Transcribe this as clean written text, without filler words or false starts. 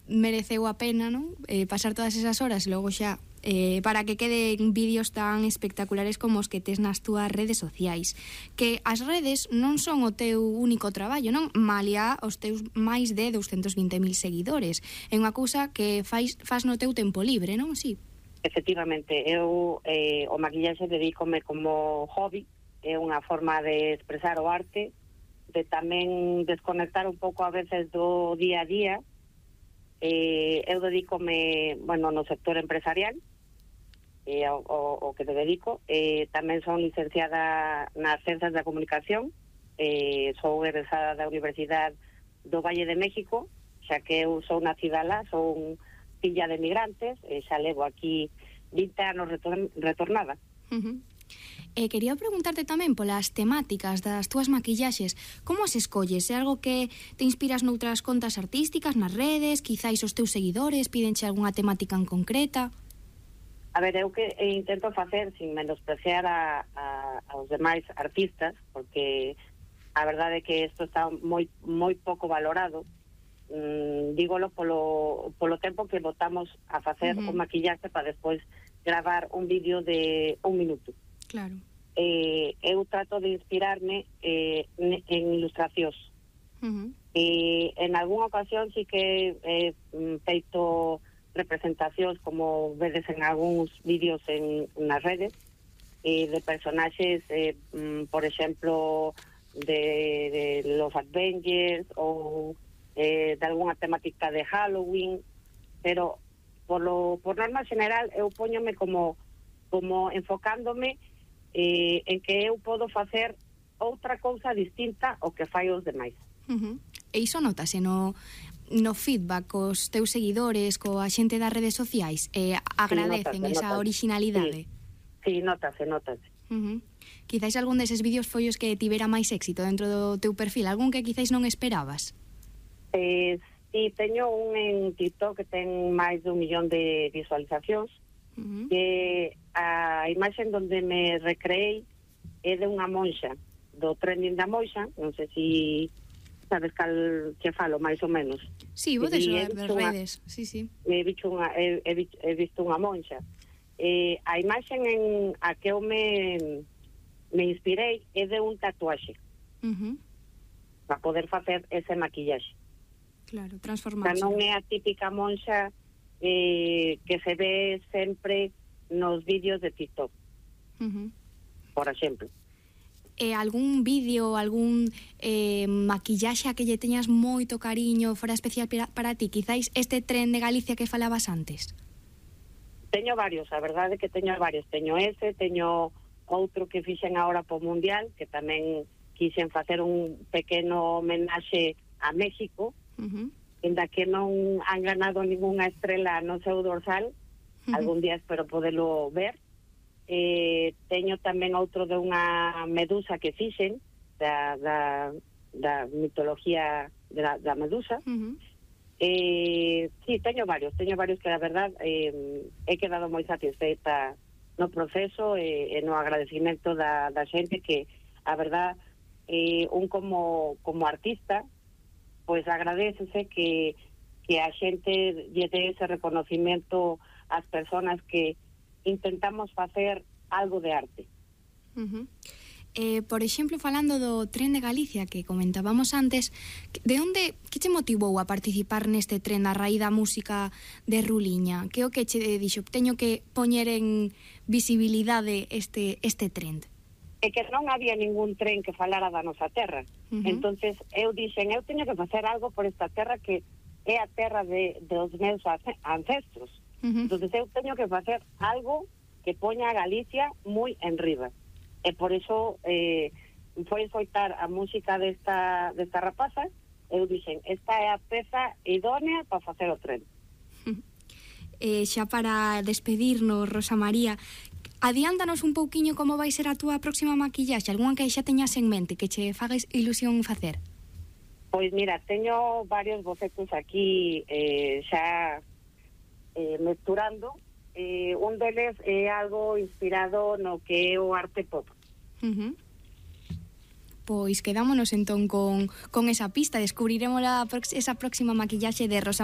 mereceu a pena, non? Pasar todas esas horas e logo xa para que queden vídeos tan espectaculares como os que tes nas túas redes sociais. Que as redes non son o teu único traballo, non? Malia os teus máis de 220.000 seguidores. É unha cousa que faz no teu tempo libre, non? Sí. Efectivamente, eu o maquillaxe dedícome como hobby, é unha forma de expresar o arte, de tamén desconectar un pouco a veces do día a día. Eu dedícome, bueno, no sector empresarial, o que te dedico. Tamén son licenciada nas Ciencias da Comunicación, sou egresada da Universidade do Valle de México, xa que eu sou nacida lá, sou filla de migrantes, xa levo aquí 20 anos retornada. Quería preguntarte tamén polas temáticas das túas maquillaxes. Como as escolles? É algo que te inspiras noutras contas artísticas, nas redes? Quizáis os teus seguidores pídenche algunha temática en concreta? A ver, eu que intento facer sin menospreciar aos demais artistas, porque a verdade é que isto está moi pouco valorado. Dígolo polo tempo que botamos a facer un maquillaxe para despois gravar un vídeo de 1 minuto. Claro. Eu trato de inspirarme en ilustracións. En algunha ocasión sí que he feito representacións, como vedes en algúns vídeos nas redes, de personaxes, por exemplo, de los Avengers ou de algunha temática de Halloween, pero por norma general eu póñome como enfocándome en que eu podo facer outra cousa distinta ao que fai os demais. E iso notase no feedback cos teus seguidores, coa xente das redes sociais, agradecen esa originalidade. Sí, notase. Quizáis algún deses vídeos foi os que tivera máis éxito dentro do teu perfil, algún que quizáis non esperabas? Sí, teño un en TikTok que ten máis de 1 millón de visualizacións, que a imaxe donde me recreei é de unha monxa, do trending da monxa, non sei se sabes cal que falo, máis ou menos. Sí, vos deso das redes, sí. He visto unha monxa. A imaxe en a que eu me inspirei é de un tatuaxe, para poder facer ese maquillaxe. Claro, transformarse. Non é a típica monxa que se ve sempre nos vídeos de TikTok, por exemplo. Algún vídeo, algún maquillaxe a que lle teñas moito cariño, fora especial para ti? Quizáis este tren de Galicia que falabas antes? Teño varios, a verdade é que teño varios. Teño outro que fixen agora po Mundial, que tamén quixen facer un pequeno homenaxe a México, ainda que non han ganado ninguna estrela no seu dorsal. Algún día espero podelo ver. Teño tamén outro de unha medusa que fixen da mitología da medusa. Sí, teño varios que a verdad he quedado moi satisfeita no proceso e no agradecimento da xente, que a verdad un como artista pois agradecese que a xente lle dé ese reconocimiento ás personas que intentamos facer algo de arte. Por exemplo, falando do Tren de Galicia que comentábamos antes, que che motivou a participar neste tren a raíz da música de Ruliña? Que o que che dixo, teño que poñer en visibilidade este trend? É que non había ningún tren que falara da nosa terra. Entonces eu dixen, eu teño que facer algo por esta terra que é a terra dos meus ancestros. Entonces eu teño que facer algo que poña a Galicia moi enriba. E por iso foi escoitar a música desta rapaza. Eu dixen, esta é a peza idónea para facer o tren. Xa para despedirnos, Rosa María, adiántanos un pouquiño como vai ser a túa próxima maquillaxe, algunha que xa teñas en mente, que che fagas ilusión facer. Pois mira, teño varios bocetos aquí xa mesturando. Un deles é algo inspirado no que é o arte pop. Pois quedámonos entón con esa pista, descubriremos esa próxima maquillaxe de Rosa